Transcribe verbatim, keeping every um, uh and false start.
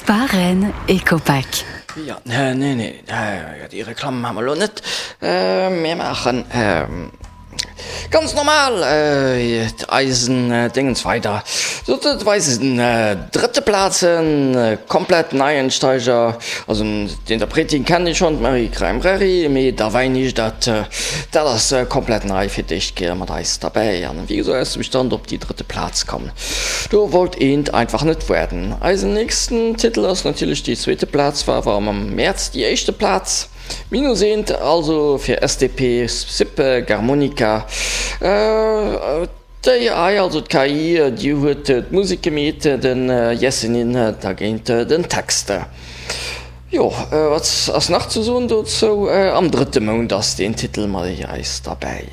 Spar Rennes Ecopack. Jo, nee, nee, déi Reklamm maache mer elo net. Mir maachen ganz normal eisen Déngens weider. Dat war eisen drëtte Plazen, komplett Neiensteiger. Also d'Interpretin kennen ech schonn, d'Marie Craimbrary, mee Derweinig, dat dat ass komplett nei, fir d'éischt Kéier mat eis derbäi. An wéi gesot, aus dem Stand op déi drëtte Plaz komm. Do wollt eent einfach net waarden. Eisen nächsten Titel ass natierlech déi zweete Plaz, war awer am Mäerz déi éischte Plaz. Minus eent also fir S D P Sippe Garmonica. D'A I, also d'K I, déi huet d'Musek gemeet, den Yesenin dergéint den Text. Jo, wat ass nach ze soen dozou? Am drëtte Mount ass deen Titel mat eis derbäi.